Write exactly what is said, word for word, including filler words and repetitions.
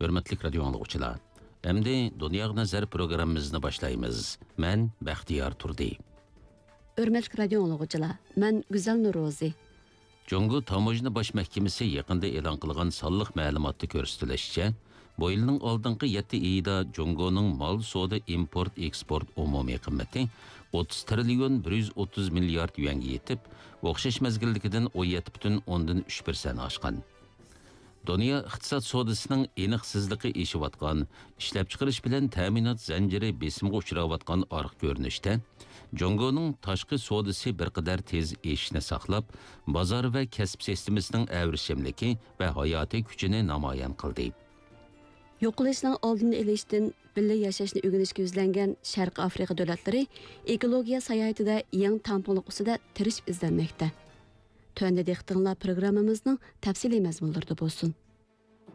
ھۆرمەتلىك رادىيو ئاڭلىغۇچىلار، ئەمدى دۇنياغا نەزەر پروگراممىمىزنى باشلايمىز. مەن بەختىيار تۇردى. ھۆرمەتلىك رادىيو ئاڭلىغۇچىلار، مەن گۈزەل نورۇزى. جۇڭگو تاموژنا باش مەھكىمىسى يېقىندا ئېلان قىلغان سانلىق مەلۇماتتا كۆرسىتىلىشىچە، بۇ يىلنىڭ ئالدىنقى يەتتە ئېيىدا جۇڭگونىڭ مال سودا ئىمپورت ئېكسپورت ئومۇمىي قىممىتى ئوتتۇز تىرىليون بىر يۈز ئوتتۇز مىليارد يۈەنگە يېتىپ، ئوخشاش مەزگىلدىكىدىن ئون يەتتە پۈتۈن ئوندىن ئۈچ پىرسەنت ئاشقان. دۇنيا ئىقتىساد سودىسىنىڭ ئېنىقسىزلىقى ئېشىۋاتقان، ئىشلەپچىقىرىش بىلەن تەمىنات زەنجىرى بېسىمغا ئۇچراۋاتقان ئارقا كۆرۈنۈشتە، جۇڭگونىڭ تاشقى سودىسى بىر قەدەر تېز ئېشىشنى ساقلاپ، بازار ۋە كەسىپ سىستېمىسىنىڭ ئەۋرىشىملىكى ۋە ھاياتىي كۈچىنى نامايان قىلدى. يوقىلىشنىڭ ئالدىنى ئېلىشتىن بىللە ياشاشنى ئۆگىنىشكە يۈزلەنگەن شەرقىي ئافرىقا دۆلەتلىرى ئېكولوگىيە ساياھىتىدە يېڭى تەڭپۇڭلۇق ئۈستىدە تىرىشىپ ئىزدەنمەكتە. تۆۋەندە دىققىتىڭلار پروگراممىمىزنىڭ تەپسىلىي مەزمۇنلىرىدا بولسۇن.